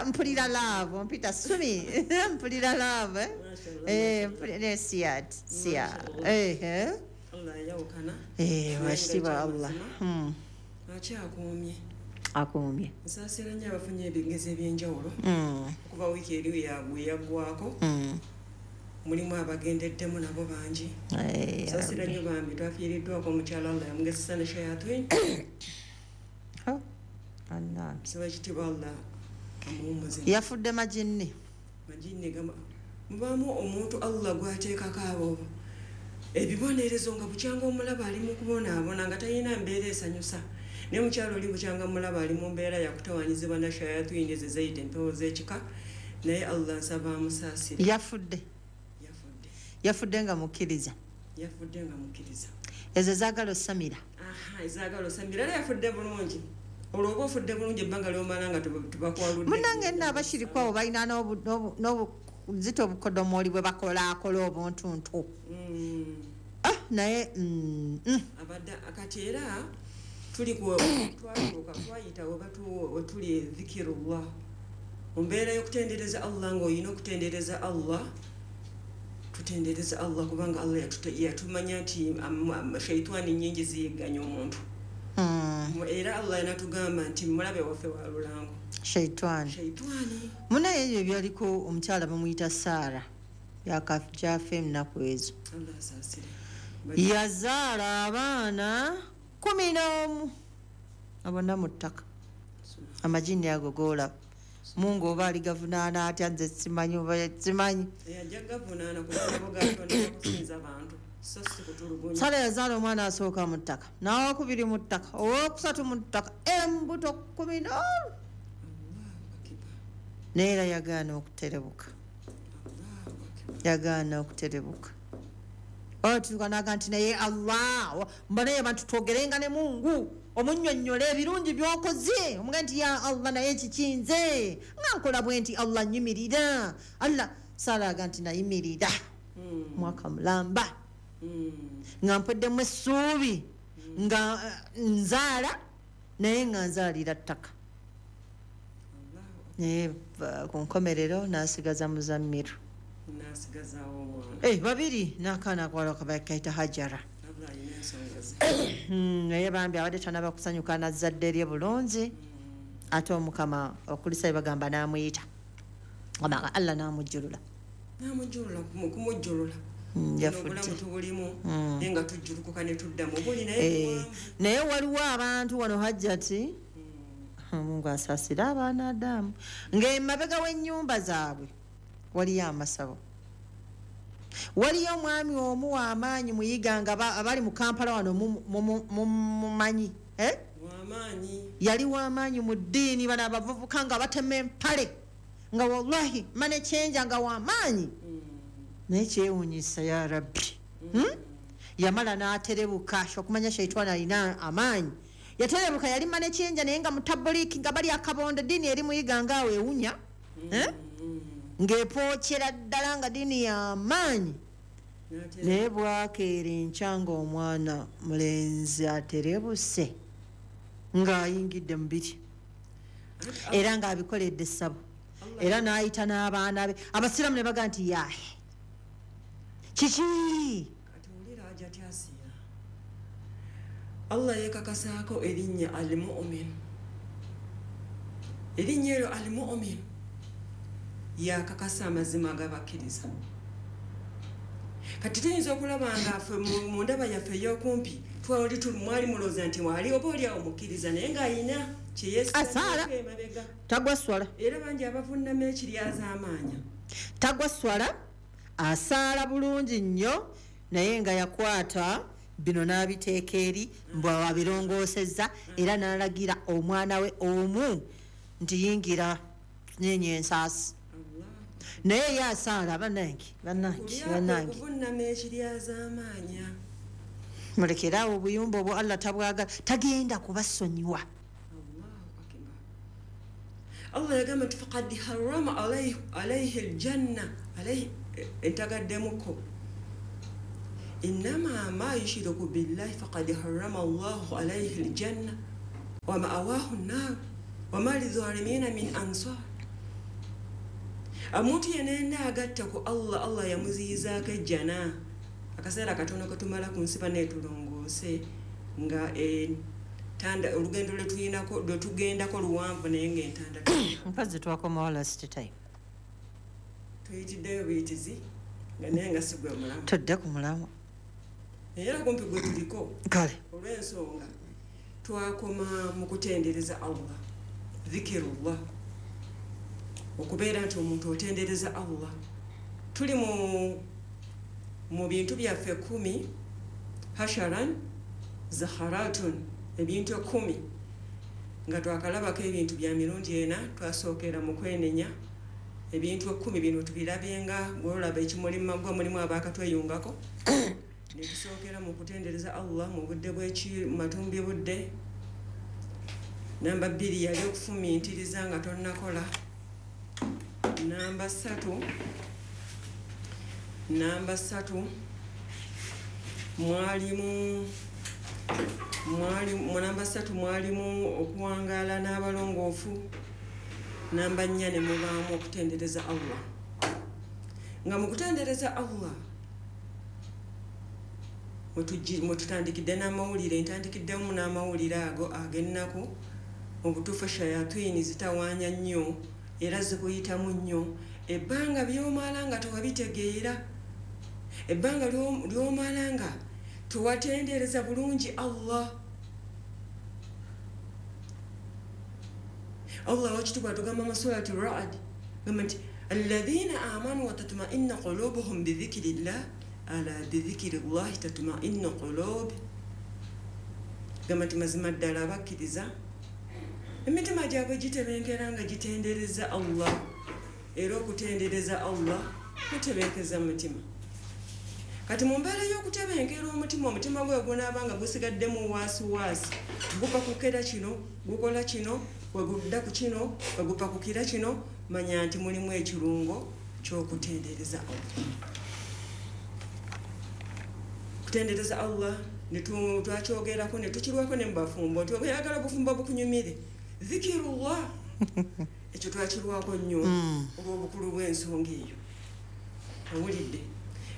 Mpulira love, ompita Sumi, mpulira love, eh? Mashallah. Eh, ne siyat siya. Mashallah. Eh. Allah yayawukana. Eh, wakitiibwa Allah. Akyakuumye. Akuumye. Nsaasira nnyo abafunye ebigezo ebyenjawulo okuva wiiki eri yagwe yaggwako. Mulimu abagendeddemu nabo bangi. Eh, Nsaasira Rabbi. nnyo bambi, twafiiriddwako omukyala, Allah yamugezesa ne shayatwin. Oh, Allah. Nsaba ekitiibwa Allah amuwummuze. Yafudde majinni. Majinni mubaamu omuntu Allah gwateekako abo ebibonerezo nga bukyanga omulaba ali mu kubonaabona nga talina mbeera esanyusa, naye mukyalo oli bukyanga mulaba ali mu mbeera yakutawanyizibwa na shayatwini ezo ezayita empewo z'ekika, naye Allah nsaba amusaasire. Yafudde. Yafudde. Yafudde nga mukkiriza. Yafudde nga mukkiriza. Ezo zaagala osamira. Aha, ezaagala osamira, era yafudde bulungi. Olwo oba ofudde bulungi ebbanga lyomala nga tubakwaludde. Munange nno abashiriku abo balina n'obuzito obukodomooli bwe bakolaakola obuntuntu. Ah, naye Abadde kati era tuli twatuuka twayita wetuli dhikirullah mu mbeera y'okutendereza Allah, ng'olina okutendereza Allah. Tutendereza Allah kubanga Allah yatumanya nti shaitwani nyingi ziyigganya omuntu. Era Allah yanatugamba nti mulabe waffe wa lulango. Shaitwani. Shaitwani. Munaye ebyo byaliko omukyala bamuyita Saara, yakajaafa ennaku ezo. Allah asaasire. Yazaala abaana 11, abonna mu ttaka. Amajini ago goolaba, Mungu oba aligavunaana atya, nze simanyi oba simanyi. Ajja gavunaana kubanga bo gatonda kusinza bantu so si kutulugunya. Sala yazaala omwana asooka mu ttaka, n'owokubiri mu ttaka, owokusatu mu ttaka, embuto 11. Allahu akbar. Naye era yagaana okuterebuka. Allahu akbar. Yagaana okuterebuka, otuuka naga nti naye Allah, mbonaye abantu twogerenga ne Mungu, omunnyonnyola ebirungi byokoze, omuga nti ya Allah, naye kikinze nga nkola bwe nti Allah nyimirira. Allah Sala aga nti nayimirira mwaka mulamba nga mpeddemu essuubi nga nzaala, naye nga nzaalira ttaka. Allahu. Naye ku nkomerero n'asigaza Muzammiru. N'asigazaawo omwana. Eh, babiri n'akaana akwala kaita Hajara. Allah alina ensonga ze. Naye bambi abadde tanaba kusanyuka nazzadde lye bulungi, ate Omukama okulisa bagamba n'amuyita. Allah n'amujjulula. N'amujjulula, kumujjulula. Yafudde. Obulamu tubulimu naye nga tujjulukuka ne tudda mu buli, naye Eh, buwanvu. Naye waliwo abantu wano, Hajjati, Mungu asaasire abaana Adamu, ng'emabega w'ennyumba zaabwe waliyo amasabo. Waliyo omwami omu w'amaanyi muyiga nga abali mu Kampala wano mumumanyi, eh? Wamaanyi. Yali w'amaanyi mu ddiini, bano abavubuka nga batema empale, nga wallahi manekyenja nga w'amaanyi, naye kyewuunyisa ya Rabbi, Yamala n'aterebuka okumanya shaitwani alina amaanyi. Yaterebuka, yali manekyenja naye nga mutabuliki, nga bali akabondo, ddiini eri muyiga ngaawo ewunya, eh? Ng'epookera ddala nga ddiini y'amaanyi, naye bwakeera enkya nga omwana mulenzi aterebuse ng'ayingidde mubiri, era ng'abikoledde essabo, era n'ayita n'abaana be abasiraamu ne bagaa nti yaahe, kiki? Kati wulira aja tyasiya, Allah yeekakasaako erinnya Al Mumin. Erinnya eryo Al Mumin yakakasa amazima agabakkiriza. Kati tuyinza okulaba nga ffe mu ndaba yaffe ey'okumpi twali mwali mulowooza nti mwali oba oli awo mukkiriza, naye ng'ayina Asaala. kyeyeesigamyeko emabega. Tagwa swala. Era bangi abavunnama ekiryazaamaanya. Tagwa swala, asaala bulungi nnyo, naye nga yakwata bino n'abiteeka eri mbw abirongoosezza, era n'alagira omwana we omu nti yingira nyenye ensaasi, Allah. Naye ye asaala. Bannange, bannange, bannange. Okuvunnama ekiryazaamaanya. Mulekeraawo obuyumba obwo, Allah tabwagala, tagenda kubasonyiwa. Allahu akbar. Allah yagamba nti fakad harama alaihi aljanna alaihi entagaddemuko innama ma yushiriku billahi fakad harama Allahu alaihi aljanna. Wa ma'awahu nnar wama lidhalimina min ansar. Omuntu yenna agatta ku Allah, Allah yamuziyizaako ejjana. Akaseera katono ketumala ku nsi baneetulongoose nga entanda olugendo lwe tulinako lwe tugendako luwanvu, naye ng'entanda Mpazi twakomawo last time. Tuyitiddeyo buyitizi nga naye nga si gwe mulamu. Tudde ku mulamu. Naye era kumpi gwe tuliko. Kale. Olw'ensonga twakoma mu kutendereza Allah, dhikirullah, okubeera nti omuntu otendereza Allah. Tuli mu bintu byaffe 10, hasharan zaharatun, ebintu 10 nga twakalabako ebintu bya mirundi 4. Twasookera mu kwenenya. Ebintu 10 bino tubirabye nga gwolaba ekimuli mu maggwa, mulimu abaakatweyungako. Ne tusookera mu kutendereza Allah mu budde bw'eki matumbi budde. Namba 2 yali okufumiitiriza nga tonnakola. Namba 3 mwalimu mu namba 3 mwalimu okuwangaala n'abalongoofu. Namba 4 ne mubaamu okutendereza Allah. Nga mu kutendereza Allah mwe tutandikidde n'amawulire, ntandikiddemu n'amawulire ago ag'ennaku. Mu butuufu shayatini zitawaanya nnyo era zikuyitamu nnyo. Ebbanga by'omala nga tewabitegeera, ebbanga ly'omala nga tewatendereza bulungi Allah. Allah wakitiibwa atugamba mu surati Ra'd, gamba nti alladhina amanu wa tatma'innu qulubuhum bidhikrillah ala bidhikrillahi tatma'innu qulub. Gamba nti mazima ddala abakkiriza emitima gyabwe gitebenkera nga gitendereza Allah. Era okutendereza Allah kutebenkeza mutima. Kati mu mbeera y'okutebenkera omutima, omutima gwe gunaaba nga gusigaddemu waasiwaasi, gupakukira kino, gukola kino, wegudda ku kino, wegupakukira kino, manya nti mulimu ekirungo ky'okutendereza Allah. Kutendereza Allah ne twakyogerako ne tukirwako ne mu bafumbo nti oyagala obufumbo bukunyumire, dhikirullah. Ekyo twakirwako nnyo olw'obukulu bw'ensonga eyo. Owulidde?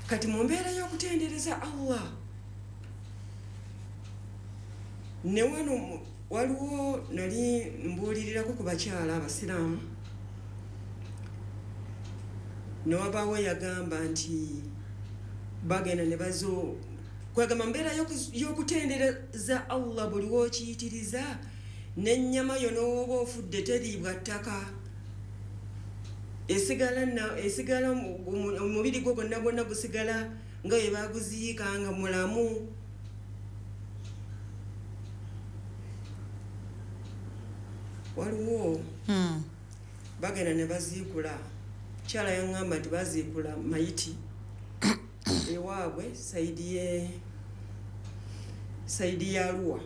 Kati mu mbeera y'okutendereza Allah ne wano waliwo nali mbuulirirako ku bakyala abasiraamu, ne wabaawo yagamba nti bagenda ne bazo kwegamba mbeera y'okutendereza Allah buli w'okiyitiriza n'ennyama yo n'oba ofudde teriibwa ttaka, esigala omubiri gwo gwonna gwonna gusigala nga bwe baguziika nga mulamu. Waliwo bagenda ne baziikula, kyala yaŋŋamba nti baziikula mayiti ewaabwe side ye side ya Arua.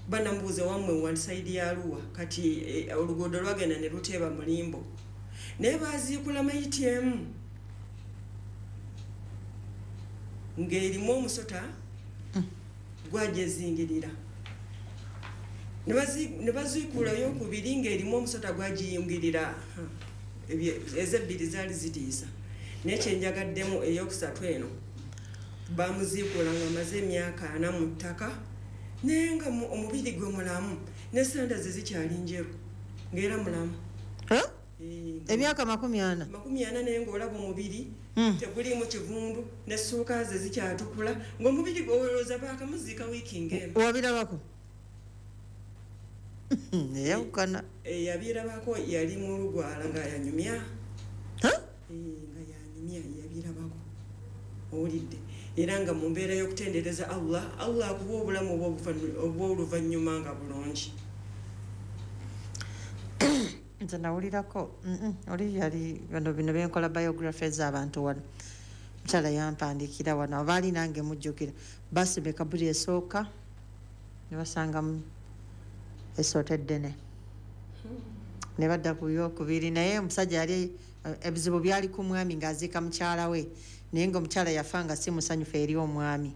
Banamubuuza wammwe wali side ya Arua. Kati oluguudo lwagenda ne luteeba mulimbo, naye baziikula mayiti emu ng'erimu omusota gwajezingirira, ne baziikulayo okubiri ng'erimu omusota gwagiyingirira. Ezebbiri zaali zitiisa, naye kyenjagaddemu eyokusatu eno bamuziikula nga amaze emyaka 40 mu ttaka, naye nga omubiri gwe mulamu ne sanda ze zikyali njeru ng'era mulamu. Emyaka 40? 40, naye ng'olaba omubiri teguliimu kivundu, nessuuka ze zikyatukula, ng'omubiri olowooza baakamuziika wiiki ng'emu. Wabirabako? Eyawukana. Yabirabako, yali mu lugwala nga yanyumya. Nga yanyumya, yabirabako. Owulidde? Era nga mu mbeera y'okutendereza Allah, Allah akuwa obulamu obw'oluvannyuma nga bulungi. Nze nawulirako oli yali bano bino byenkola biography z'abantu wano, mukyala yampandiikira wano abaali nange mujjukira, basima ekabuli esooka ne basangamu essoota eddene, ne badda ku yokubiri, naye omusajja yali ebizibu byali ku mwami ng'aziika mukyala we, naye nga omukyala yafa nga si musanyufu eri omwami.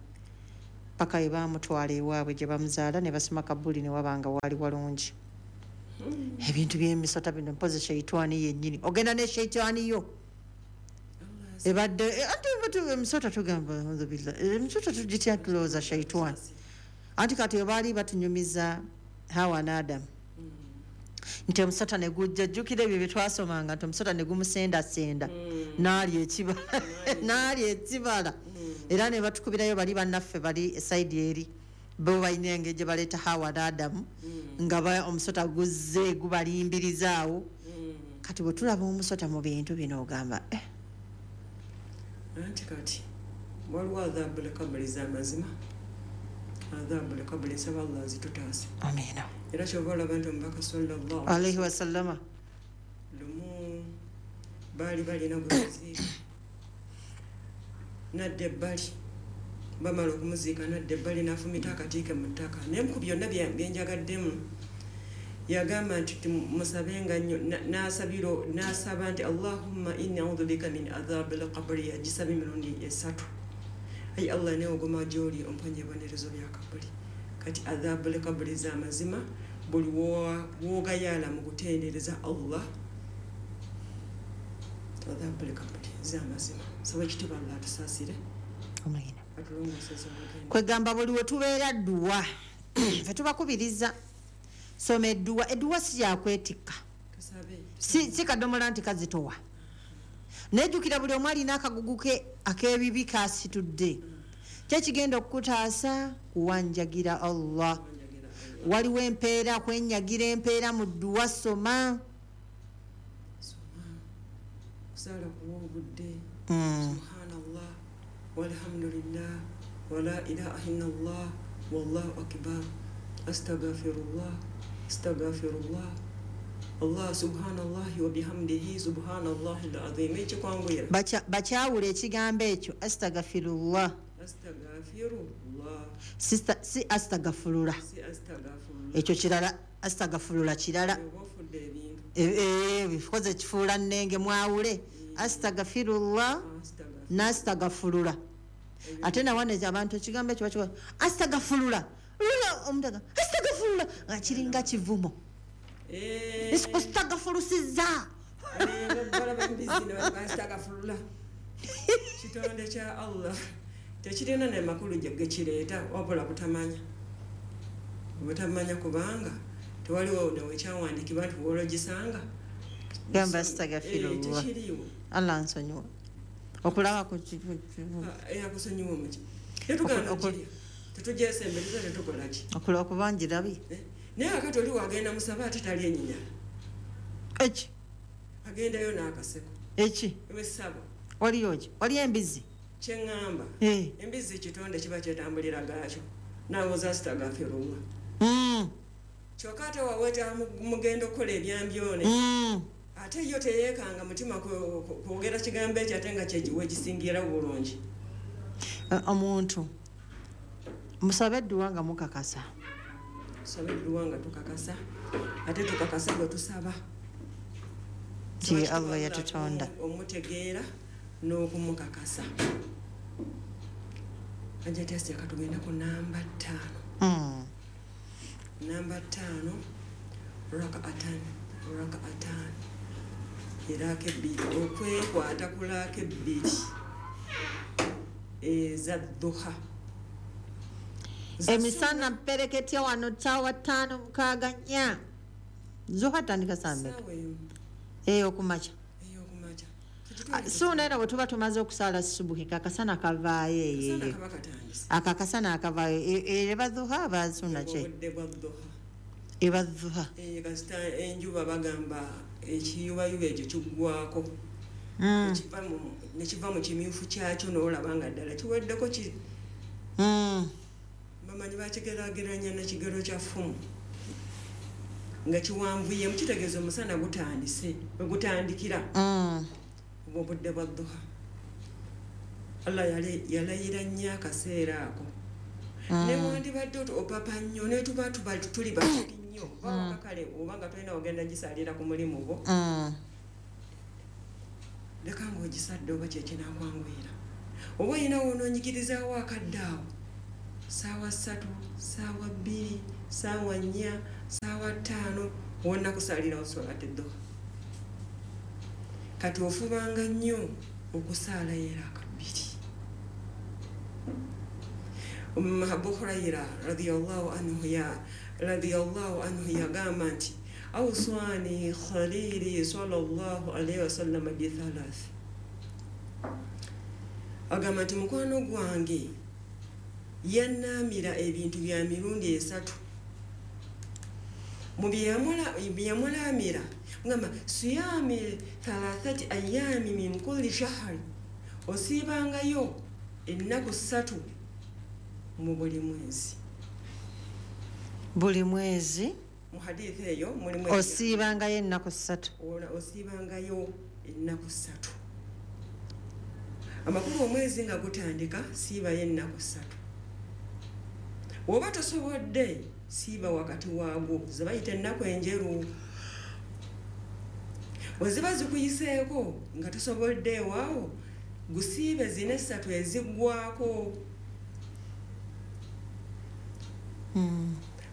Paka we baamutwala ewaabwe gye bamuzaala ne basima kabuli ne wabanga waali walungi. Ebintu by'emisota bino mpozi sheitwani yennyini. Ogenda ne sheitwani yo. Ebadde ate emisota tugamba alhamdulillah. Emisota tugitya tulowooza sheitwani. Anti kati we baali batunyumiza Hawa ne Adamu. Nti omusota ne gujja, jjukira ebyo bye twasomanga nti omusota ne gumusendasenda n'alya ekibala n'alya ekibala. Era ne batukubirayo bali bannaffe bali esayidi eri bo balina engeri gye baleeta Hawa ne Adamu nga omusota guzze gubalimbirizaawo. Kati bwe tulaba omusota mu bintu bino ogamba Anti kati waliwo adhabu kabuli z'amazima, adhabu kabuli nsaba Allah azitutaase. Amiina. Era kyova olaba nti omubaka sallallahu alaihi wasallama lumu baali balina gwe baziika nadda ebbali, bamala okumuziika nadda ebbali n'afumita akatiike mu ttaka. Naye ku byonna byenjagaddemu yagamba nti musabenga nnyo, n'asaba nti Allahumma inni a'udhu bika min adhabil qabri, yagisaba emirundi 3. Ayi Allah, neewogoma gy'oli omponye ebibonerezo bya kabuli. Kati adhabul qabri z'amazima buli w'ogayaala mu kutendereza Allah, adhabul qabri z'amazima. Saba ekitiibwa Allah atusaasire. Amiina. Atulongooseze olugendo. Kwegamba buli we tubeera dduwa ffe tubakubiriza soma edduwa. Edduwa si yakwetikka, si kadomola nti kazitowa. Nejjukira buli omu alina akagugu ke ak'ebibi kasitudde. Kyekigenda okukutaasa kuwanjagira Allah. Waliwo empeera, kwenyagira empeera mu dduwa. Soma. Soma, kusaala kuwa obudde. Subhanallah walhamdulillah wala ilaha illallah wallahu akbar astaghfirullah astaghfirullah Allah subhanallahi wa bihamdihi subhanallahi alazim. Ekikwanguyira. Bakyawula ekigambo ekyo astaghfirullah. Astaghfirullah. Sister, si astaghfirullah. Si astaghfirullah. Ekyo kirala, astaghfirullah kirala. Ofudde ebintu. Bikoze kifuula nnenge, mwawule astaghfirullah n'astaghfirullah. Ate nawaneza abantu ekigambo ekyo bakiwa astaghfirullah. Lula omuntu agamba astaghfirullah nga kiringa kivumo. Esikustaghfirusiza. Balaba embizi ne baga astaghfirullah. Kitonde kya Allah tekirina ne makulu gekireeta wabula butamanya. Butamanya kubanga tewaliwo newekyawandiikibwa nti w'ologisanga. Gamba astaghfirullah. Tekiriiwo. Allah nsonyiwa. Okulaba ku Akusonyiwa muki? Tetugamba kiri. Tetugyesembereza, tetukola ki? Okulaba kubangirabi. Naye akati oli wagenda musaba ate tali enyinyala. Eki? Agendayo n'akaseko. Eki? Ewessabo. Waliyo ki? Waliyo embizi? Kyeŋŋamba. Embizi kitonde kiba kyetambulira gaakyo. Naawe ozaasitagafirullah. Kyokka ate waweeta mugenda okukola ebyambyone. Ate yo teyeekanga mutima kwogera kigambo ekyo ate nga wekisingira bulungi. Omuntu musabe edduwa nga mukakasa. Tusabe edduwa nga tukakasa, ate tukakasa bwe tusaba. Nti Allah yatutonda. Omutegeera n'okumukakasa. Ajja tasi akatugenda ku namba 5. Namba 5 rak'atan rak'atan. Eraaka ebbiri, okwekwata ku laaka ebbiri eza duha. Emisana mpereketya wano ssaawa 5 6 4. Zuha tandika saa mmeka? Ey'okumakya. Ey'okumakya. Suuna era bwe tuba tumaze okusaala subuhi kakasana kavaayo eyo. Akakasana akavaayo eba duha aba suuna ki? Obudde bwa duha. Eba duha. Kasita enjuba bagamba ekiyubayuba ekyo kiggwako. Ne kiva mu kimyufu kyakyo n'olaba nga ddala kiweddeko ki. Bamanyi bakigeraageranya n'ekigero kya ffumu. Nga kiwanvuyemu kitegeeza omusana gutandise, we gutandikira. Obudde bwa duha. Allah yalayira nnyo akaseera ako. Ne wandibadde opapa nnyo ne tuba tuli batono nnyo. Oba kale oba nga tolina ogenda gisalira ku mulimu gwo. Leka ng'ogisadde oba kye kinaakwanguyira. Oba olina w'onoonyigirizaawo akadde awo. Saawa 3, saawa 2, saawa 4, saawa 5 wonna kusaalirawo solati duha. Kati ofubanga nnyo okusaalayo eraaka 2. Abu Huraira radiyallahu anhu yagamba nti awswani khalili sallallahu alayhi wasallam bi thalath. Agamba nti mukwano gwange yannaamira ebintu bya mirundi 3. Mu byeyamulamira ngamba siyami thalathati ayami min kulli shahri, osiibangayo ennaku 3 mu buli mwezi. Buli mwezi mu hadithi eyo mulimu osiibangayo ennaku 3. Osiibangayo ennaku 3. Amakulu omwezi nga gutandika siibayo ennaku 3. Oba tosobodde siiba wakati waagwo, ze bayita ennaku enjeru. Bwe ziba zikuyiseeko nga tosobodde ewaawo, gusiibe zina 3 eziggwako.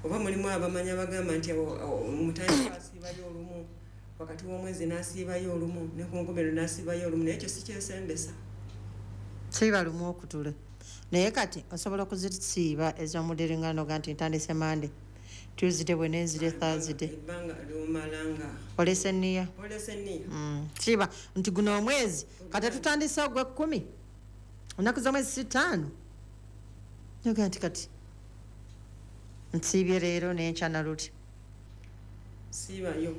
Oba mulimu abamanya bagamba nti omutandika asiibayo olumu, wakati w'omwezi n'asiibayo olumu, ne ku nkomerero n'asiibayo olumu, naye ekyo si kyesembesa. Siiba lumu okutula. Naye kati osobola okuzisiiba ez'omudiringano ga nti ntandise Monday, Tuesday, Wednesday, Thursday. Ebbanga ly'omalanga. Olese nniya. Olese nniya. Siiba nti guno omwezi kati tutandise ogw'ekkumi, ennaku z'omwezi si 5. Nyoga nti kati nsiibye leero n'enkya na luli. Siibayo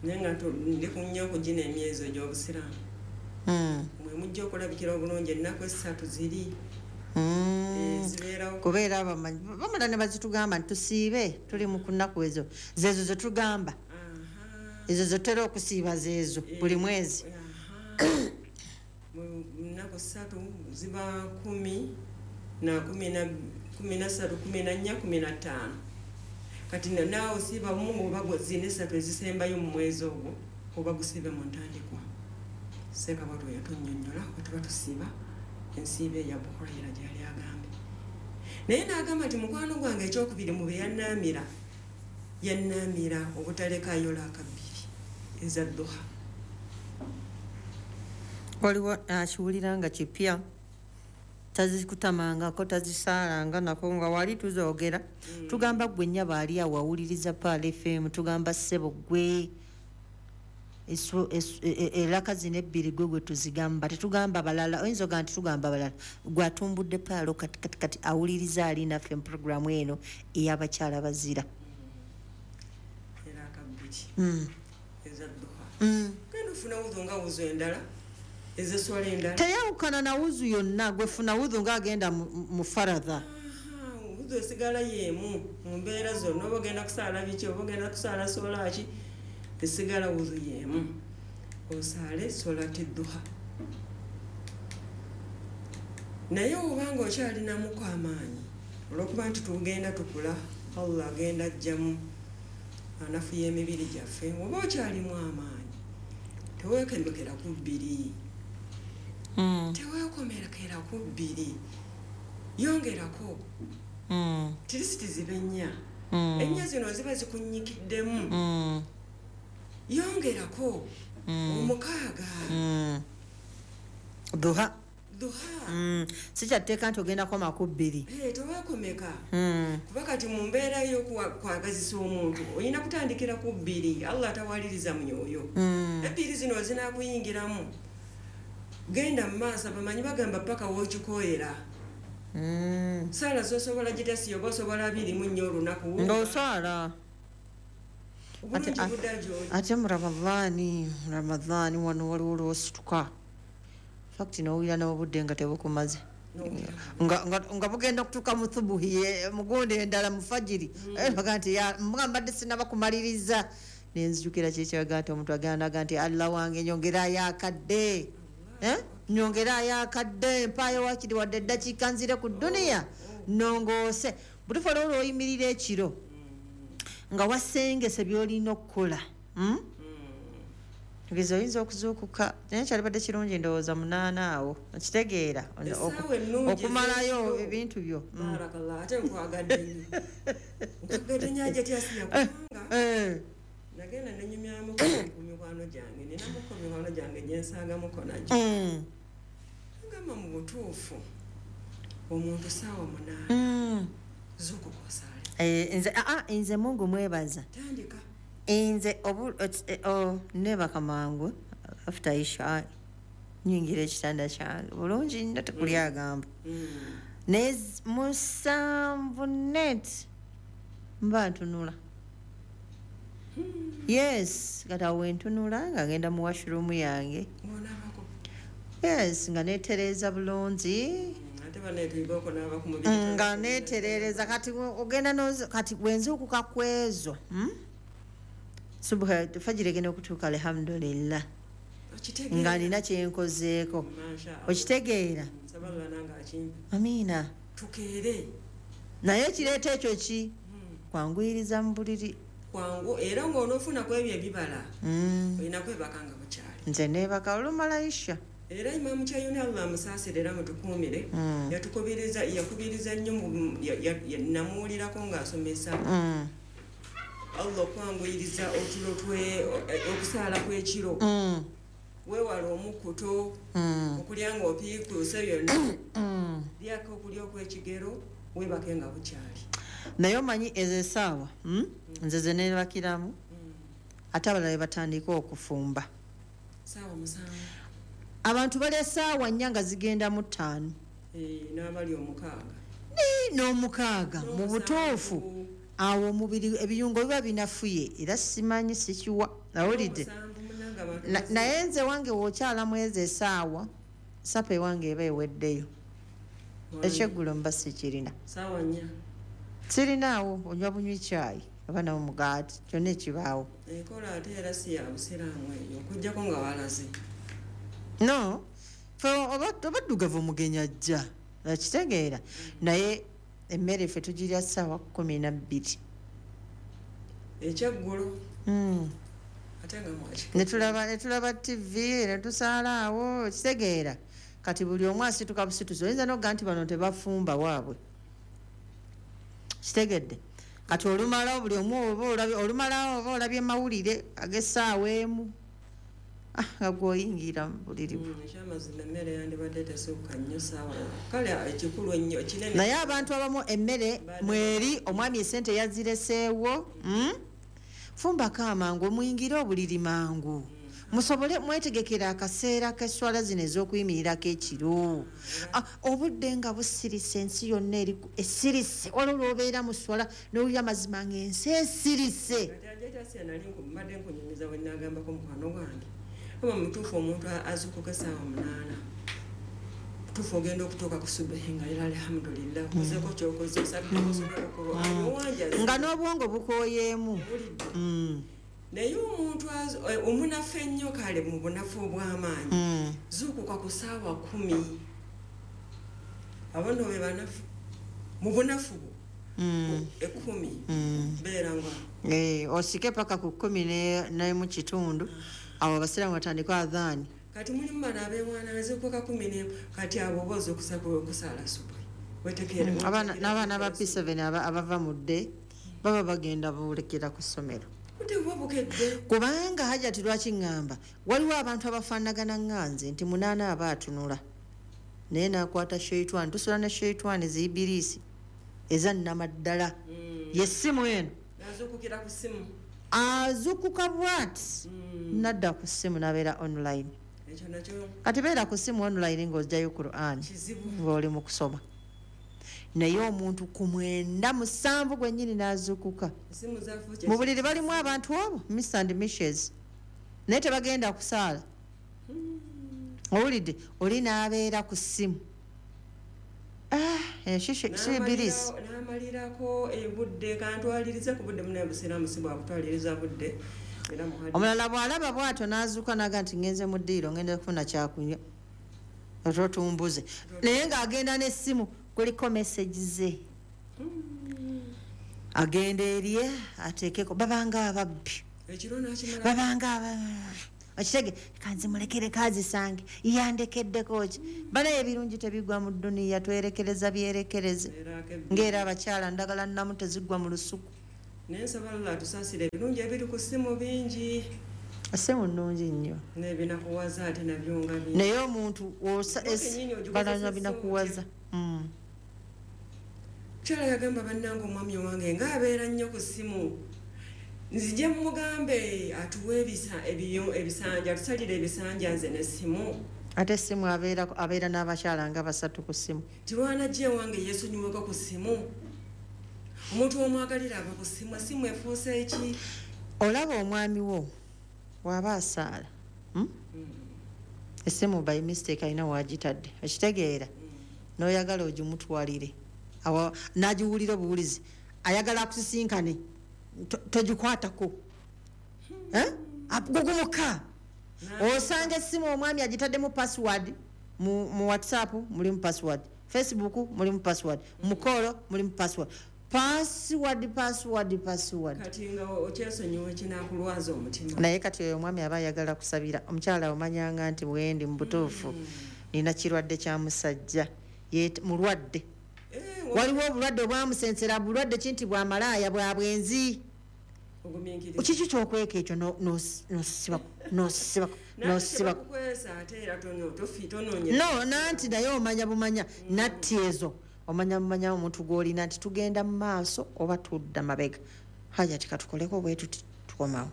naye nga ndi ku nnyo okugina emyezi egy'obusiraamu. Mwe mujja okulabikira obulungi ennaku 3 ziri. Zibeerawo. Kubeera abamanyi bamala ne bazitugamba nti tusiibe tuli mu kunaku ezo zeezo ze tugamba. Ezo ze tutera okusiiba zeezo buli mwezi. Mu nnaku 3 ziba 10 na 13, 14, 15. Kati naawe osiiba mu oba zina 3 ezisembayo mu mwezi ogwo oba gusiibe mu ntandikwa. Ssekabaka yatunnyonnyola bwe tuba tusiiba ensiiba eya Abu Huraira gy'yali agambye. Naye n'agamba nti mukwano gwange ekyokubiri mu bye yannaamira, yannaamira obutalekaayo laaka 2 eza duha. Waliwo akiwulira nga kipya, tazikutamangako, tazisaalanga nako nga wali tuzoogera. Tugamba ggwe nnyabo ali awo awuliriza Pearl FM, tugamba ssebo ggwe eraka zino 2 gwe gwe tuzigamba, tetugamba balala. Oyinza ogamba nti tugamba balala, gwe atumbudde Pearl kati kati kati awuliriza ali naffe mu puroguramu eno ey'abakyala bazira. Eraka 2 eza duha. Genda ofuna wuzu nga wuzu endala ez'esswala endala. Teyawukana na wuzu yonna, gwe funa wuzu ng'agenda mu faradha. Wuzu esigala y'emu mu mbeera zonna, oba ogenda kusaala biki, oba ogenda kusaala swala ki, esigala wuzu y'emu. Osaale solati duha. Naye obanga okyalinamuko amaanyi, olw'okuba nti tugenda tukula, Allah agenda ajjamu anafuya emibiri gyaffe, oba okyalimu amaanyi teweekomekera ku 2. Teweekomekera ku 2. Yongerako. Tirisiti zibe 4. 4 zino ziba zikunnyikiddemu. Yongerako 6. Duha. Duha. Si kyatteeka nti ogenda koma ku 2. Teweekomeka. Kuba kati mu mbeera y'okwagazisa omuntu olina kutandikira ku 2. Allah tawaliriza myoyo. 2 zino zinaakuyingiramu. Genda mu maaso, abamanyi bagamba paka w'okikoera. Saala z'osobola gitasi oba osobola 24 olunaku. Ng'osaala. Ate mu Ramadhaani wano waliwo lw'osituka. Fact n'owulira n'obudde nga tebukumaze. Nga bugenda okutuuka mu thubuhi mugundi endala mu fajiri. Baga nti mbadde sinnaba kumaliriza. Nenzijukira kyekyaga nti omuntu agenda naga nti Allah wange nyongerayo akadde. Nyongerayo akadde, mpaayo waakiri wadde eddakiika nzire ku dduniya nongoose. Butuufu olwo lw'oyimirira ekiro nga wasengese by'olina okukola. Tugeza oyinza okuzuukuka, naye kyalibadde kirungi ndowooza 8 awo, okitegeera, Essaawa ennungi okumalayo ez'ekiro. ebintu byo. Barakallah, ate nkwagadde nnyo, nkwagadde nnyo Hajati Asiya, kubanga nagenda nenyumyamu ku mikwano gyange, ninamuko mikwano gyange gyensagamuko nagyo. Ngamba mu butuufu omuntu saawa 8 zuukuka osaale. Nze nze Mungu mwebaza. Tandika. Nze neebaka mangu after isha, nyingira ekitanda kyange bulungi nnyo, tekuli agamba. Naye 7 net mba ntunula. Yes, kati awo wentunula nga ngenda mu washroom yange. Ng'onaabako. Yes, nga neetereeza bulungi. Ate baneetuyiga okunaaba ku mubiri. Nga neetereereza, kati ogenda kati wenzuukuka ku ezo, Subha, fajiri egenda okutuuka, alhamdulillah. Okitegeera. Nga nina kyenkozeeko. Masha Allah. Okitegeera? Nsaba Allah nange akimpe. Amiina. Tukeere. Naye ekireeta ekyo ki? Kwanguyiriza mu buliri. Kwangu, era ng'onoofuna ku ebyo ebibala, olina kwebaka nga bukyali. Nze neebaka olumala isha. Era Imaamu Kyayuni, Allah amusaasire era mutukuumire, yatukubiriza, yakubiriza nnyo namuwulirako ng'asomesa Allah okwanguyiriza otulo twe, okusaala kw'ekiro. Weewale omukkuto, okulya ng'opiikuuse byonna. Lyako okulya okw'ekigero, weebake nga bukyali. Naye omanyi ezo essaawa, Nze ze neebakiramu, ate abalala be batandika okufumba. Ssaawa 7. Abantu balya ssaawa 4 nga zigenda mu 5. N'abali 6. N'omukaaga, mu butuufu. Awo omubiri ebiyungo biba binafuye, era simanyi sikiwa. Nawulidde. N'omusanvu munnange abantu basi- Naye nze wange w'okyalamu ezo essaawa, sapa ewange eba eweddeyo. Wange. Ekyeggulo mba sikirina. Ssaawa 4. Sirinaawo, onywa bunywi caayi oba n'omugaati, kyonna ekibaawo. Enkola ate era si ya busiraamu eyo, okuggyako nga walaze. No, ffe obaddugavu omugenyi ajja, okitegeera. Naye emmere ffe tugirya ssaawa 12. Ekyeggulo. Ate nga mwaki. Ne tulaba TV, ne tusaala awo, okitegeera. Kati buli omu asituka busituzi, oyinza n'okugamba nti bano tebafumba waabwe. Kitegedde. Kati olumala buli omu oba olabye, olumala oba olabye mawulire ag'essaawa 1. Nga gw'oyingira mu buliri bwo. Ekyamazima emmere yandibadde tesukka nnyo ssaawa. Kale ekikulu ennyo kinene. Naye abantu abamu emmere Mbadde mweri omwami essente yazireseewo, Fumbako amangu, omuyingire obuliri mangu. Musobole mwetegekera akaseera k'esswala zino ez'okuyimirirako ekiro. Obudde nga busirise, ensi yonna eri esirise. Waliwo lw'obeera mu sswala n'owulira amazima ng'ensi esirise. Kati Hajati Asiya nali mbadde nkunyumiza bwe nnaagambako mukwano gwange. Oba mutuufu omuntu azuukuka essaawa 8. Mutuufu ogenda okutuuka ku subuhi nga era alhamdulillah, okozeeko ky'okoze, osaddeko osomeko ku Qur'an, owanjaze. Nga n'obwongo bukooyeemu. Owulidde. Naye omuntu omunafu ennyo kale mu bunafu obw'amaanyi, zuukuka ku ssaawa 10. Abo nno be banafu. Mu bunafu bwo. 10. Beera nga. Osike paka ku 10 n'emu kitundu. Awo abasiraamu batandika adhaani. Kati mulimu bano abeewaana bazuukuka 11, kati abo oba ozuukusa kusaala subuhi. Wetegeere, wetegeere N'abaana ba kusaala P7 abava mu dde baba bagenda boolekera ku ssomero. Budde buba bukedde. Kubanga Hajati lwaki ŋŋamba waliwo abantu abafaanagana ŋŋanze nti 8 aba atunula naye n'akwata sheitwani, tusula ne sheitwani ziyibiriisi eza nnamaddala. Ye ssimu eno. Azuukukira ku ssimu. Azuukuka bw'ati n'adda ku ssimu n'abeera online. Ekyo nakyo Kati beera ku ssimu online ng'oggyayo Qur'an kizibu. ng'oli mu kusoma. Naye omuntu ku 9 7 gwennyini n'azuukuka. Essimu zaafuuka Mu buliri balimu abantu abo, Miss and Mishes. Naye tebagenda kusaala. Owulidde, oli n'abeera ku ssimu. Si Ibirisi. N'amalirako ebudde, kantwalirize ku budde munnaye busiraamu si bwakutwaliriza budde. Era muhadisi. Omulala bw'alaba bw'atyo n'azuuka n'aga nti ngenze mu ddiiro, ngenda kufuna kyakunywa. Otwo tumbuze. Naye ng'agenda n'essimu kuliko message ze. Agenda erye ateekeko, babanga ababbi. Ekiro n'akimala. Babanga Okitege kanzimulekere kazisange yandekeddeko ki? Banaye ebirungi tebigwa mu dduniya, twerekereza byerekereze. Ng'era abakyala ndagala nnamu tezigwa mu lusuku. Naye nsaba Allah atusaasire, ebirungi ebiri ku ssimu bingi. Essimu nnungi nnyo. N'ebinakuwaza ate nabyo nga bingi. Naye omuntu Gwe kennyini ogikozesa. Balanya binakuwaza. Mukyala yagamba, bannange, omwami wange ng'abeera nnyo ku ssimu, nzije mugambe atuwe ebisanja, atusalire ebisanja nze n'essimu. Ate essimu abeera n'abakyala nga basatu ku ssimu. Tilwanajja ewange yeesonyiweko ku ssimu. Omuntu omwagalira aba ku ssimu, essimu efuuse eki? Olaba omwami wo bw'aba asaala, Essimu by mistake alina wagitadde, okitegeera, n'oyagala ogimutwalire, n'agiwulira obuwulizi, ayagala akusisinkane, togikwatako. Eh? Gugumuka osanga essimu omwami agitaddemu password. Mu WhatsApp mulimu password, Facebook mulimu password, mukolo mulimu password, password, password, password. Kati nga okyesonyiwa ekinakulwaza omutima. Naye kati oyo omwami aba ayagala kusabira omukyala, omanyanga nti bwendi mu butuufu nina kirwadde kya musajja. Mulwadde. Eh, Waliwo obulwadde obwamusensera, bulwadde ki? Nti bwamalaaya, bwa bwenzi. Ogumiikiriza. Kiki kyokweka ekyo? Nosibako, nosibako, nosibako. Tebakukwesa ate era tonoonye. No, nanti naye omanya bumanya natti ezo, omanya bumanya omuntu gw'olina nti tugenda mu maaso oba tudda mabega. Hajati, katukoleko bwe tuti, tukomawo.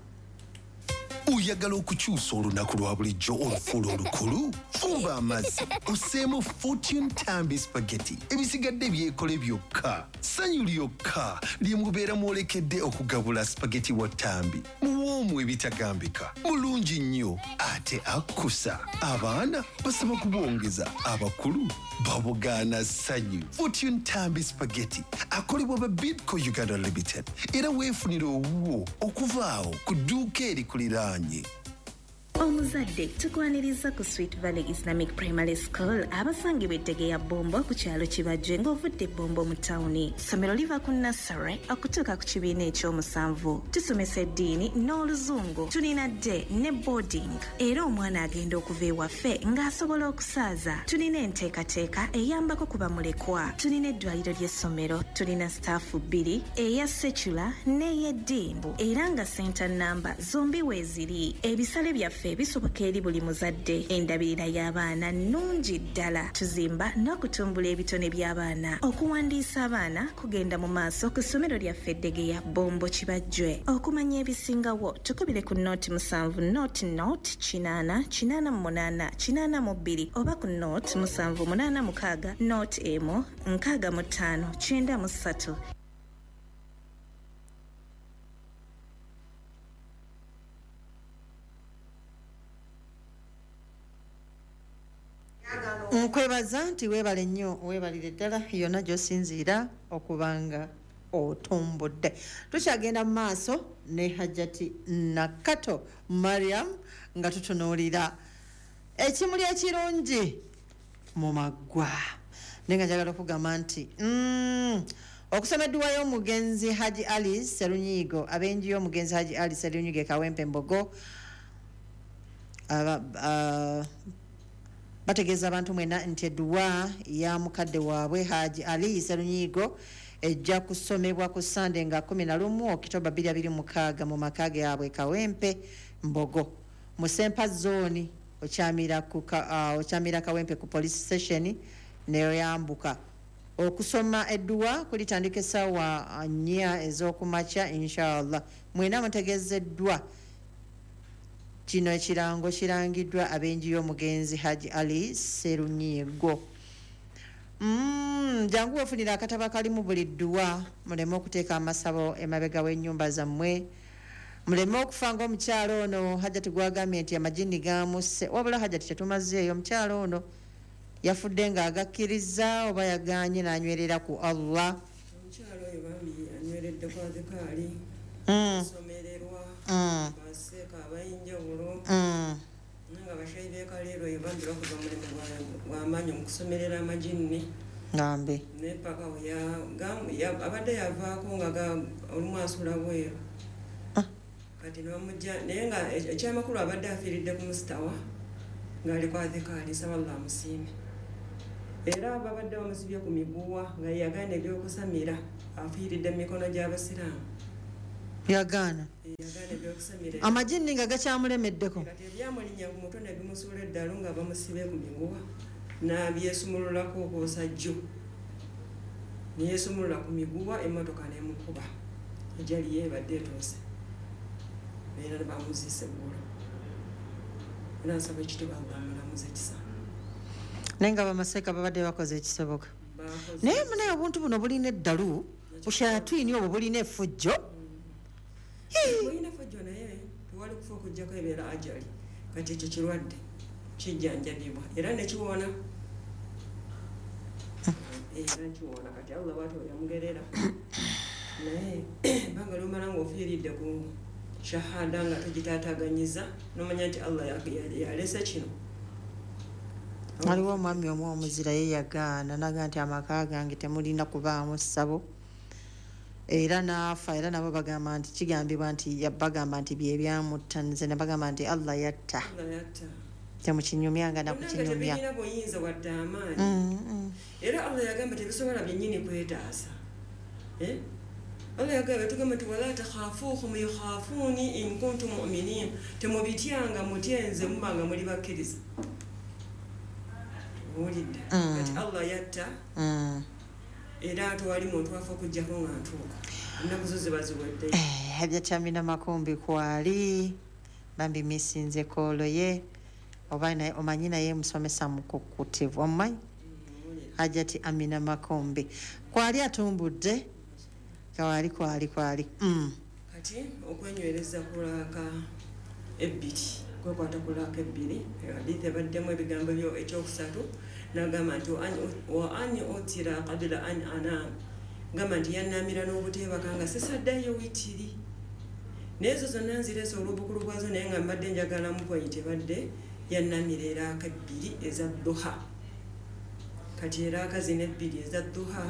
Oyagala okukyusa olunaku lwa bulijjo olufuula olukulu? Fumba amazzi oseemu Fortune Tambi Spaghetti, ebisigadde byekole byokka. Ssanyu lyokka lye mubeera mwolekedde okugabula spaghetti wa Tambi. Muwoomu ebitagambika, mulungi nnyo ate akkusa. Abaana basaba kubongeza, abakulu babugaana ssanyu. Fortune Tambi Spaghetti akolebwa ba Bidco Uganda Limited, era weefunire owuwo okuva awo ku dduuka erikuliraanye. Omuzadde, tukwaniriza ku Sweet Valley Islamic Primary School, abasangibwa ettege ya Bombo ku kyalo Kibajje ng'ovudde Bombo mu tawuni. Ssomero liva ku nursery okutuuka ku kibiina ekyomusanvu. Tusomesa eddiini n'Oluzungu. Tulina day ne boarding, era omwana agenda okuva ewaffe ng'asobola okusaaza. Tulina enteekateeka eyambako ku bamulekwa. Tulina eddwaliro ly'essomero. Tulina staff bbiri, eya secular n'ey'eddiini, era nga center namba zombi weeziri. Ebisale byaffe bisoboka eri buli muzadde. Endabirira y'abaana nnungi ddala. Tuzimba n'okutumbula ebitone by'abaana. Okuwandiisa abaana kugenda mu maaso ku ssomero lyaffe Eddegeya, Bombo, Kibajjwe. Okumanya ebisingawo, tukubire ku 07 00 80 88 82 oba ku 07 86 01 65 93. Nkwebaza nti weebale nnyo, weebalire ddala yonna gy'osinziira okubanga otumbudde. Tukyagenda mu maaso ne Hajjati Nakato Mariam nga tutunuulira ekimuli ekirungi mu maggwa. Naye nga njagala okugamba nti okusoma edduwa y'omugenzi Haji Ali Serunyigo, ab'enju y'omugenzi Haji Ali Serunyigo e Kawempe Mbogo bategeeza abantu mwena nti edduwa ya mukadde waabwe Haji Ali Serunyigo ejja kusomebwa ku Sande nga 11 Okitoba 2026 mu maka gaabwe Kawempe Mbogo, mu Sempa Zone. Okyamira Kawempe ku police station neyoyambuka. Okusoma edduwa kulitandika essaawa 4 ez'okumakya, inshallah. Mwena mutegezeddwa. Kino ekirango kirangiddwa ab'enju y'omugenzi Haji Ali Serunyigo. Jangu wefunira akatabo akalimu buli dduwa, muleme okuteeka amasabo emabega w'ennyumba zammwe, muleme okufa ng'omukyalo ono Hajati gwagambye nti amajini gamusse. Wabula Hajati, tetumazeeyo, omukyalo ono yafudde ng'agakkiriza oba yagaanye n'anywerera ku Allah? Omukyalo oyo bambi anyweredde ku adhikaali, somererwa baseeka abayinjawulo, nga bashayi bekaleero eyo bambi bakoze omulimu gw'amaanyi mu kusomerera amajinni. Ngambe. Naye paka we abadde yavaako nga olumu asula bweru. Kati nebamujja, naye nga ekyamakulu abadde afiiridde ku musitawa ng'ali ku adhikaali, nsaba Allah amusiime. Era babadde bamusibye ku miguwa nga yagaana ebyokusamira, afiiridde mu mikono gy'abasiraamu. Yagaana. Yagaana ebyokusamira. Amajinni nga gakyamulemeddeko. Kati ebyamulinnya ku mutwe ne bimusuula eddalu nga bamusibye ku miguwa, n'abyesumululako okwosa jjo. Neyesumulula ku miguwa, emmotoka n'emukuba. Ejali ye ebadde etuuse. Era bamuziise eggulo. Era nsaba ekitiibwa Allah amulamuze ekisa. Naye nga bamaseeka babadde bakoze ekisoboka. Bakoze. Naye munaye obuntu buno bulina eddalu, bushayatwini obwo bulina effujjo. Bulina effujjo, naye tewali kufa okuggyako ebeera ajali. Kati ekyo kirwadde kijjanjabibwa era nekiwona. Era kiwona. Kati Allah bw'atyo yamugerera. Naye ebbanga ly'omala ng'ofiiridde ku shahada nga togitaataganyiza, n'omanya nti Allah yalese kino. Waliwo omwami omu omuzira ye yagaana, n'agamba nti amaka gange temulina kubaamu ssabo. Era n'afa, era nabo bagamba nti kigambibwa nti bagamba nti bye byamutta, nze ne bagamba nti Allah yatta. Allah yatta. Temukinyumyanga na Bonna nga kukinyumya. tebirina buyinza wadde amaanyi. Era Allah yagamba tebisobola byennyini kwetaasa. Allah yagamba, tugamba nti wala takhafuhum yukhafuuni in kuntum mu'minin. Temubityanga, mutye nze muba nga muli bakkiriza. Owulidde? Kati Allah yatta. Era tewali muntu afa okuggyako nga ntuuka. Ennaku zo ziba ziweddeyo. Hajjati Amina Makumbi kwali bambi misinze koolo ye, oba omanyi naye musomesa mukukutivu, omumanyi? Hajjati Amina Makumbi kwali atumbudde kwali kwali kwali. Kati okwenywereza ku laaka ebbiri, kwekwata ku laaka ebbiri, hadithi ebaddemu ebigambo byo ekyokusatu, n'agamba nti wa an utira qabla an anam, gamba nti yannamira n'obuteebaka nga sisaddayo witiri. Naye ezo zonna nzireese olw'obukulu bwazo, naye nga mbadde njagala mu point ebadde yannamira eraaka ebbiri eza duha. Kati eraaka zino ebbiri eza duha,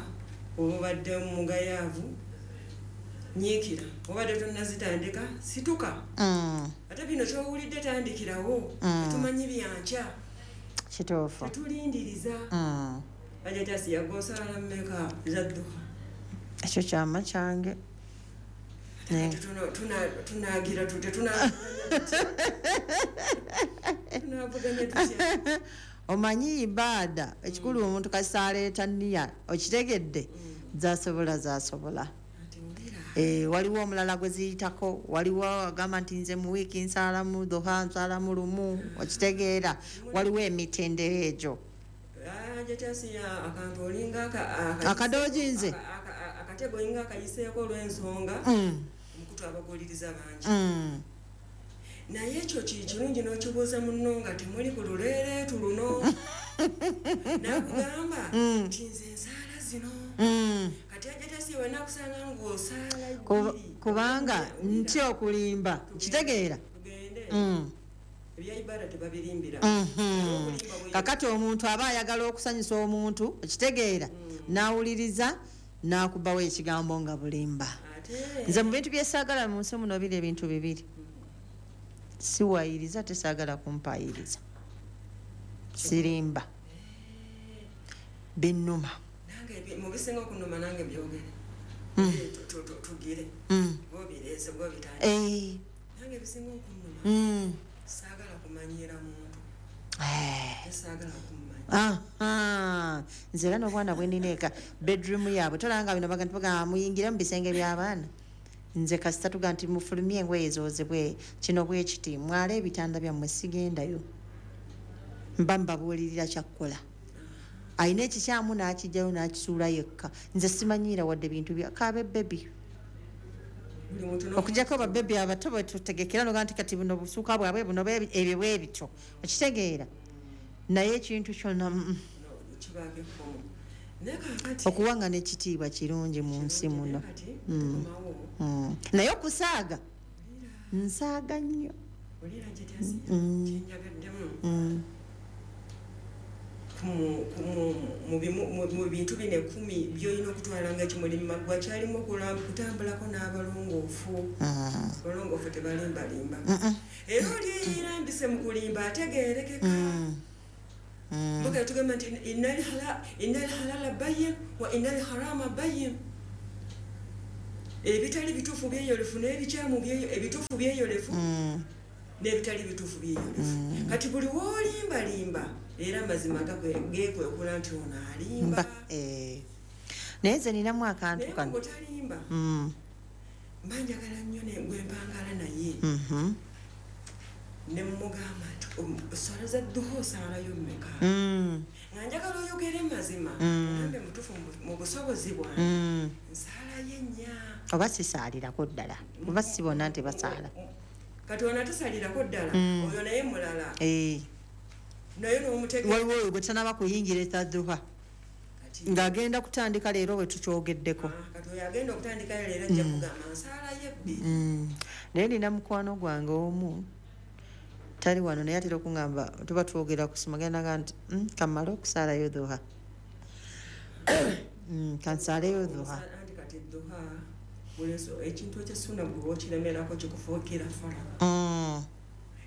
oba obadde mugayaavu, nyiikira, obadde tonnazitandika, situka. Ate bino ky'owulidde tandikirawo, tetumanyi byankya. Kituufu. Tetulindiriza. Hajjati Asiya gw'osaala mmeka eza duha? Ekyo kyama kyange. Kati tunaagira tutya? Tunaavuganya tutya? Omanyi ibaada ekikulu omuntu kasita aleeta nniya, okitegedde, zasobola zasobola. Ati wulira. Waliwo omulala gwe ziyitako, waliwo agamba nti nze mu wiiki nsaalamu duha, nsaalamu lumu, okitegeera, waliwo emitendera egyo. Hajjati Asiya akantu olinga Akadooji nze. akatego olinga akayiseeko olw'ensonga, omukutu abaguuliriza bangi. Naye ekyo kirungi n'okibuuza munno nga temuli ku luleereetu luno. N'akugamba nti nze nsaala zino. Kati Hajjati Asiya wenna akusanga ng'osaala bbiri. Kubanga Wulira. ntya okulimba, kitegeera. Tugende. Ebya ibaada tebabirimbira. Okulimba bwe- Kakati omuntu aba ayagala okusanyusa omuntu, okitegeera, n'awuliriza n'akubawo ekigambo nga bulimba. Ate Nze mu bintu bye saagala mu nsi muno biri ebintu bibiri. Siwayiriza, tesaagala kumpayiriza. Sirimba. Binnuma. Nange mu bisinga okunnuma nange byogere. Tugire. Bw'obireese, bw'obitandika. Nange ebisinga okunnuma. Saagala kumanyiira muntu. Tesaagala kummanya. Nze era n'obwana bwe nnina eka, bedroom yaabwe, tolaba nga bino bagamba muyingire mu bisenge by'abaana. Nze kasita tuga nti mufulumye engoye zoozebwe, kino bwe kiti, mwale ebitanda byammwe, sigendayo. Mba mbabuulirira kyakkola. Alina ekikyamu n'akijjayo n'akisuula yekka. Nze simanyiira wadde bintu bya kaabe bebi. Buli muntu Okuggyako babebi abato bwe tutegekera n'ogamba nti kati buno busuuka bwabwe buno ebyo bwe bityo. Okitegeera? Naye ekintu kyonna, Kibaako ekkomo. Naye kaakati Okuwanga n'ekitiibwa kirungi mu nsi muno. Kati tukomawo. Naye okusaaga, nsaaga nnyo. Olira Hajjati Asiya, kyenjagaddemu. Mu bintu bino 10 by'olina okutwala nga ekimuli mu maggwa kyalimu okutambulako n'abalongoofu. Abalongoofu tebalimbalimba. Era oli eyerambise mu kulimba ategeerekeka. Mbuga tugamba nti innal halala bayyin wa innal harama bayyin. Ebitali bituufu byeyolefu n'ebikyamu ebituufu byeyolefu n'ebitali bituufu byeyolefu. Kati buli w'olimbalimba era amazima geekwekula nti ono alimba. Naye nze ninamu akantu kano. Naye bw'otalimba, mba njagala nnyo gwe mpangala naye. Ne mmugamba nti esswala za dduha osaalayo mmeka? Nga njagala oyogere mazima, ogambe mutuufu mu busobozi bwange, nsaalayo 4. Oba sisaalirako ddala, oba si bonna nti basaala. Kati ono atasalirako ddala, oyo naye mulala. Naye n'omutegeera. Waliwo oyo gwe tanaba kuyingira etadduha. Ng'agenda kutandika leero bwe tukyogeddeko. Kati oyo agenda okutandika leero ajja kugamba nsaalayo 2. Naye nina mukwano gwange omu tali wano naye atera okungamba tuba twogera kusoma genda nga nti kamale okusaalayo duha. Kansaaleyo duha. Anti kati duha ekintu eky'essunna bwe okiremerako kikufuukira fala.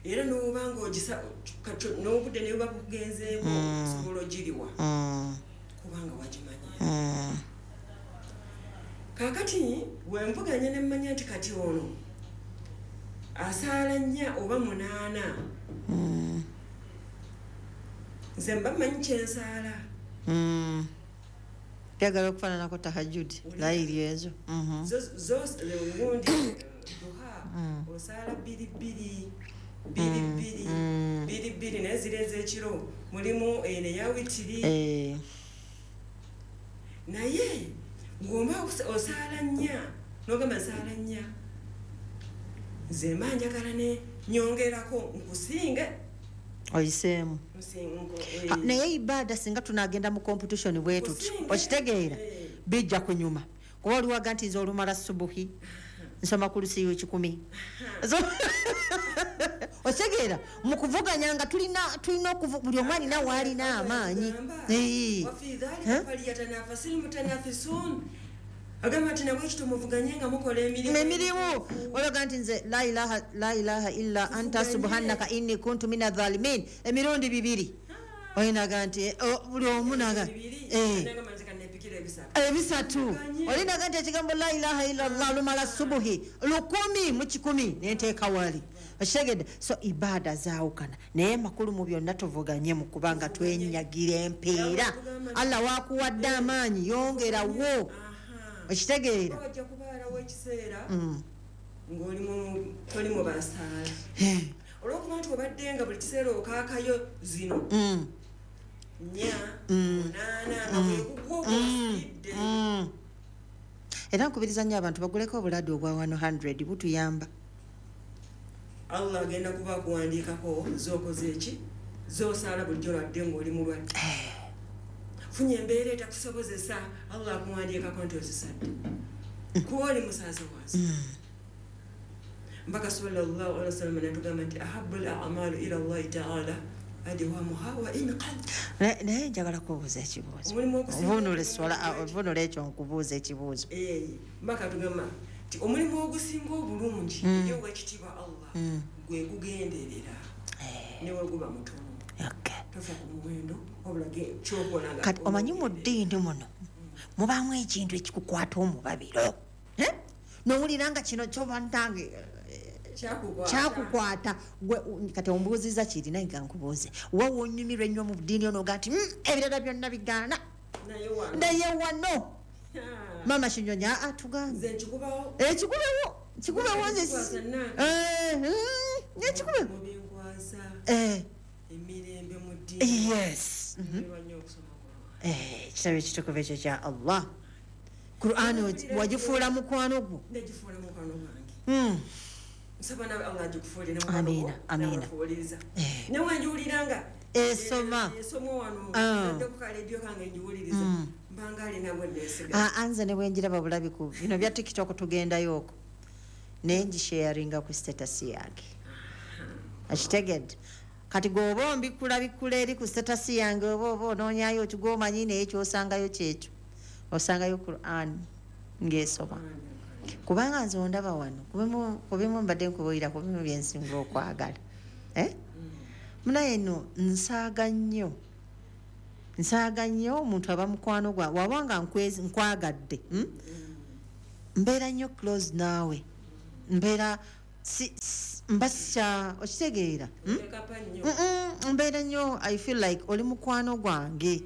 Era n'oba ng'ogisa n'obudde ne buba bukugenzeeko osobola ogiriwa kubanga wagimanya. Kaakati bwe nvuganya ne mmanya nti kati ono asaala 4 oba 8. Nze mba mmanyi kye nsaala. Byagala okufaananako tahajjud layiri ezo. Zo gundi duha osaala 2 2 2 2 2 2 naye ziri ez'ekiro mulimu eno eya witiri. Naye ng'omba osaala 4 n'ogamba nsaala 4. Nze mba njagala ne nyongerako nkusinge. Oyiseemu. Naye ibaada singa tunagenda mu competition bwe tuti okitegeera bijja kunyuma. Kuba oliwaga nti nze olumala subuhi nsoma ku lusiiyo 1,000. Okitegeera mu kuvuganya nga tulina buli omu alina w'alina amaanyi. Agamba nti nabwe ekito muvuganye nga mukola emirimu. Olaga nti nze la ilaha illa anta subhanaka inni kuntu mina dhalimin emirundi 2. Olinaga nti buli omu naga ebisatu. Olinaga nti ekigambo la ilaha illa Allah lumala subuhi 1,000 mu 1,000 nenteeka wali. Okitegedde? So ibaada zaawukana naye makulu mu byonna tuvuganye mu kubanga twenyagira empeera. Allah wakuwadde amaanyi yongerawo. Okitegeera? Wajja kubaalawo ekiseera ng'oli toli mu basaala. Olw'okuba nti obadde nga buli kiseera okaakayo zino 4 8 nga bwekugwa ogwosiridde. Era nkubiriza nnyo abantu baguleko obuladu obwa 100 butuyamba. Allah agenda kuba akuwandiikako z'okoze eki z'osaala bulijjo lwadde ng'oli mulwadde. Funye embeera etakusobozesa Allah akuwandiikako nti ozisadde. Kuba oli musaazi wansi. Mbaka sallallahu alaihi wasallam n'atugamba nti ahabbul a'malu ila Allahi ta'ala adwamuha wa in qall. Naye njagala kubuuza ekibuuzo. Ovunula ekyo nkubuuza ekibuuzo. Mbaka tugamba nti omulimu ogusinga obulungi eri ow'ekitiibwa Allah gwe gugenderera ne bwe guba mutono. Tofa ku muwendo Kati omanyi mu ddiini muno mubaamu ekintu ekikukwata omubabiro. N'owulira nga kino kyobantange kyakukwata. Kati ombuuzizza kiri naye nga nkubuuze. Wa wonyumirwa ennyo mu ddiini ono oga nti ebirala byonna bigaana. Naye wano. Maama Kinyonyi atugambe. Ekikubewo. Kikubewo nze. Ekikubewo. Emirembe mu ddiini. Yes. Ekitabo ekitukuvu ekyo kya Allah. Qur'an wagifuula mukwano gwo. Ndagifuula mukwano gwange. Nsaba nawe Allah agikufuulire mukwano gwo. Amiina. Nawe njiwuliranga esoma. Esoma wano. Ndadde ku kaleediyo kange njiwuliriza. Mbanga alina gwe neesiga. Anze ne bwe njiraba bulabi ku bino bya TikTok tugendayo okwo. Naye ngisharinga ku status yange. Akitegedde. Kati gweoba ombikula bikula eri ku status yange, oba onoonyayo kigwomanyi, naye kyosangayo kyekyo, osangayo Quran ng'esoma, kubanga nze ondaba wano kubimu mbadde nkubuulira kubimu byensinga okwagala. Eh? Munaye no nsaaga nnyo, nsaaga nnyo omuntu aba mukwano gwa waba nga nkwagadde, Mbeera nnyo close naawe, mbeera mba sikya okitegeera, Wekapa nnyo. Mbeera nnyo, I feel like oli mukwano gwange.